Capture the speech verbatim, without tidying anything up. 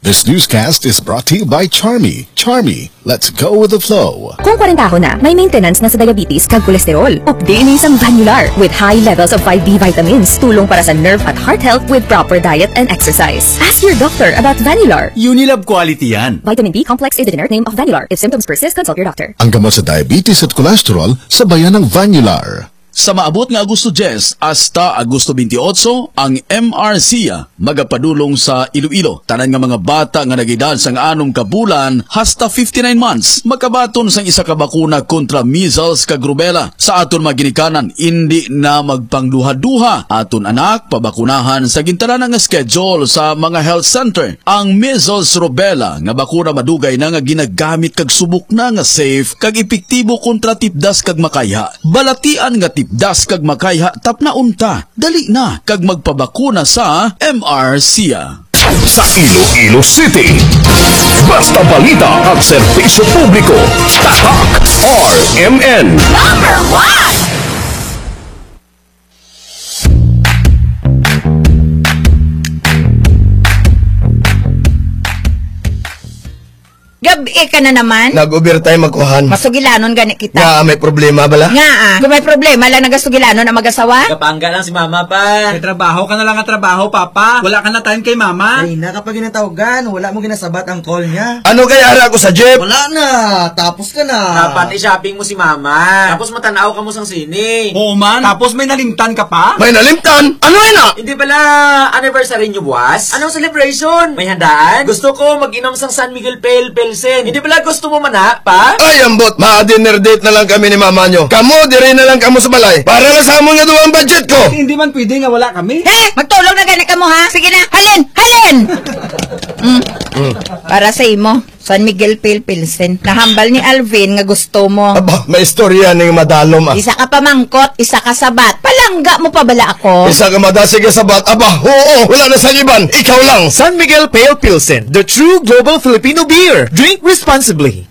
This newscast is brought to you by Charmy. Charmy, let's go with the flow. Kung kwarentahon na, may maintenance na sa diabetes kag kolesterol. Updi ini sang Vanular with high levels of five B vitamins, tulong para sa nerve at heart health with proper diet and exercise. Ask your doctor about Vanular. Unilab quality yan. Vitamin B complex is the generic name of Vanular. If symptoms persist, consult your doctor. Ang gamot sa diabetes at cholesterol, sabayan ng Vanular. Sa maabot nga Agosto diyes hasta Agosto twenty-eight, ang M R C magapadulong sa Iloilo. Tanan nga mga bata nga nag-edad sang anom ka bulan hasta fifty-nine months makabaton sang isa ka bakuna kontra measles kag rubella. Sa aton mga ginikanan, indi na magpangduha-duha aton anak pabakunahan sa gintanan nga schedule sa mga health center. Ang measles rubella nga bakuna madugay na nga ginagamit kag subok na nga safe kag epektibo kontra tipdas kag makayha. Balatian nga tipdas kag makayha, tapnaon ta. Dali na kag magpabakuna sa M R C. Sa Iloilo City, basta balita at serbisyo publiko, tatak R M N. Gabi ka na naman. Nag-overtime ako, han. Masugilanon gani kita. Nga, may problema bala? Nga ah. Kung may problema lang nagasugilanon ang mag-asawa? Kapangga lang si mama pa. May trabaho ka na lang nga trabaho, papa. Wala ka na time kay mama. Ay na, kapag ginatawagan, wala mo ginasabat ang call niya. Ano kay ara ko sa jeep? Wala na, tapos ka na. Dapat i-shopping mo si mama. Tapos matanaw ka mo sang sine. Oo man. Tapos may nalimtan ka pa? May nalimtan? Ano na? Hindi bala anniversary niyo buwas? Anong celebration? May handaan? Gusto ko mag-inom sang San Miguel Pale Pilsen. Hindi bala gusto mo man na, pa? Ay, ambot, ma-dinner date na lang kami ni mama nyo. Kamo, diri na lang kamo sa balay. Para lang sa amon nga duwang budget ko. Hindi man pwede nga wala kami. Eh, magtulog na gani ka mo ha? Sige na, halin, halin! Mm. Para sa imo, San Miguel Pale Pilsen. Nahambal ni Alvin nga gusto mo. Aba, may istorya ning madalom ah. Isa ka pamangkot, isa ka sabat. Palangga mo pa bala ako? Isa ka madasig nga sabat. Aba, oo, wala na sang iban. Ikaw lang. San Miguel Pale Pilsen, the true global Filipino beer. Drink responsibly.